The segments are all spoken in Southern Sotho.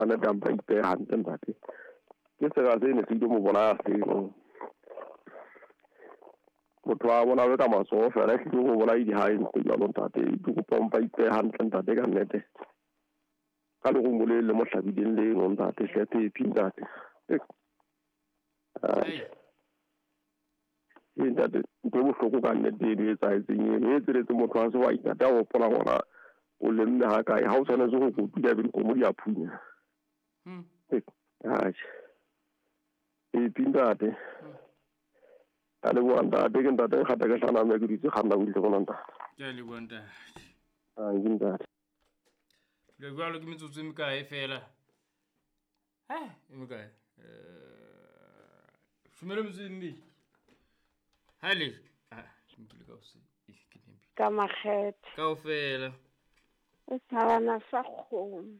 Nnete a mpa ipehe hantle ntate. Ke sera se ne se ile mo bolaya seno. Motho a bolawe ka matsoho fela ehlile ho bolai ha e ntse jwalo ntate. Ke kopa o mpa ipehe hantle ntate ka nnete. Ka lerumo le le mo hlabileng leno ntate hle Phephi ntate. Ee ntate, ntho e bohloko ka nnete eno e etsahetseng eno. E etseletse motho wa sehwai ntate a hopola ngwana o lemme ha kae. Ha o tshwanetse ho kotula ebe dikgomo di a phunya. Atjhe. Phephi ntate. Ka leboha ntate, ke ntate Nkgata ke hlana mme ke dutse kganna butle mona ntate. Ke a leboha ntate. Ke ntate. Le jwalo ke metsotso e mekae fela? E mekae? Shumele metsotso e mmedi. Ha le. Ah, nkile ka hose. Ke nempi. Ka makgethe. Kaofela. O tshabana sa kgomo.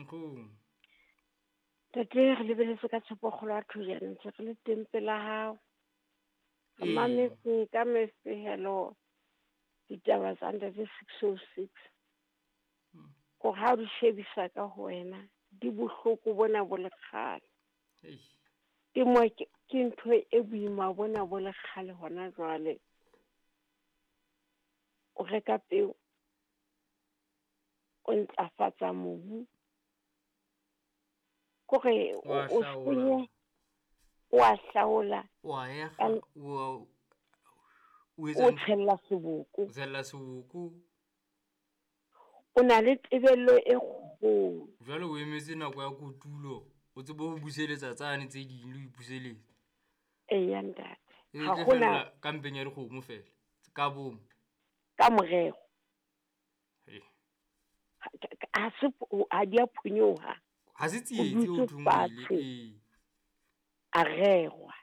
Kgomo. Tate re lebeletse ka tshepo kgolo ya thojana ntse re le teng pela hao. Re mametse ka mefehelo ditaba tsa ntate 606. Hore ha o di shebisa ka ho wena, di bohloko bona bo le kgale. Temo ke ntho e boima bona bo le kgale hona jwale. O reka peo, o ntlafatsa mobu. Kore o senye, o a hlaola. O a ega, o o tshella seboko. O tshella seboko. O na le tebello e kgolo. Jwale o emetse nako ya kotulo, o tsebe ho buseletsa tsane tse ding le ho ipuseletsa. Eya ntate. E tle fela ka mpeng ya dikgomo fela, ka bomo. Ka morero. Ha se ha di a phonyoha. Ha se tsietsi o thong ile. A rerwa.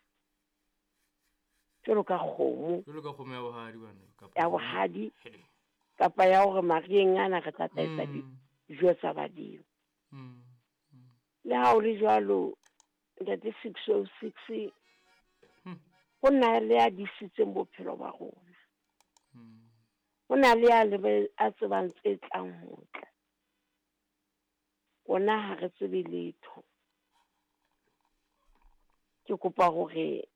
Jwalo ka kgomo. Jwalo ka kgomo ya bohadi bana kapa. Ya bohadi. Kapa ya hore marieng ana re tla tla dijo tsa badimo. Le ha o le jwalo ntate 606 ho na le a disitseng bophelo ba rona. Ho na le a le a tsebang tse tlang ho tla. Rona ha re tsebe letho. Ke kopa hore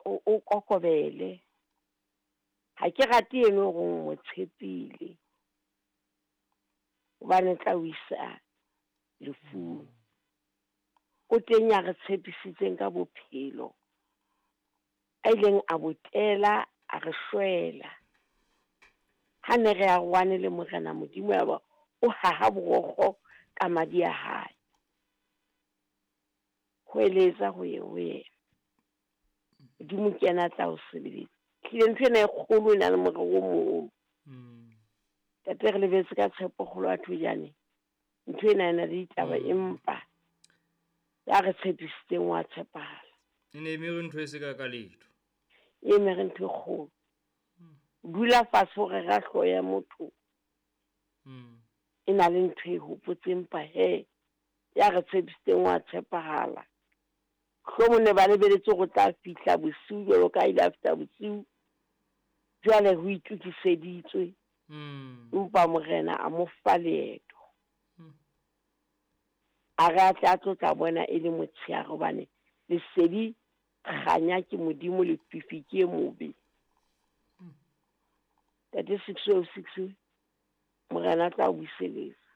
o kokobele. Ha ke rate eno hore o mo tshepile. Hobane tla o isa lefung. O teng ya re tshepisitseng ka bophelo. A ileng a botela a re shwela. Ha ne re arohane le Morena Modimo ya ba o haha borokgo ka madi a hae. Ho eletsa ho ye ho yena. Modimo ke yena a tla o sebeletsa. Tlile ntho ena e kgolo e na le morero o moholo. Tate re lebetse ka tshepo kgolo ya thojane. Ntho ena e na le ditaba empa ya re tshepisitseng wa tshepahala. E ne e mere ntho e se ka letho. E mere ntho e kgolo. Dula fatshe hore ra hlooho ya motho. E na le ntho e hopotseng empa he ya re tshepisitseng wa tshepahala. Hlomong ne ba lebeletse hore tla fihla bosiu jwalo ka ile a fihla bosiu. Jwale ho itokiseditswe. Empa Morena a mo fa leeto. A re a tle a tlo tla bona e le motshehare hobane lesedi kganya ke Modimo lefifi ke e mobe. Tate 606 Morena tla o buseletsa.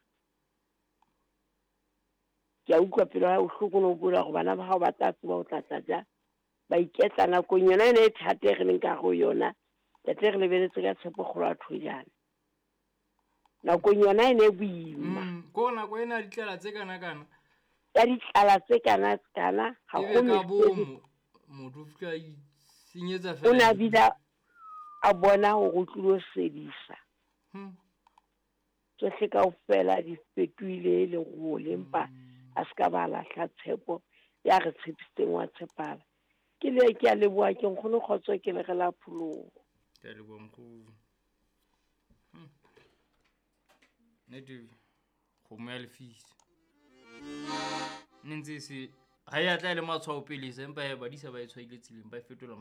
Ke a utlwa pelo ya bohloko no bula hore bana ba hao ba tla tseba ho tla tla ja. Ba iketla nakong yona ena e thata e re leng ka ho yona. Tate re lebeletse ka tshepo kgolo ya thojana. Nakong yona e ne boima. Ko nako ena ditlala tse kana kana. Ya ditlala tse kana kana ha ho ka bomo motho fika senyetsa fela. O na bile a bona hore o tlilo sedisa. Tsohle kaofela di fetohile lerole empa a se ka ba lahla tshepo ya re tshepisitseng wa tshepala. Ke le ke a leboha ke nkgono kgotso ke le re la pholoho. Ke a leboha nkgono. Nnete kgomo ya lefisa. Ne ntse se ha ya tla le matshwao pele se empa badisa ba e tshwaile tseleng ba e fetola.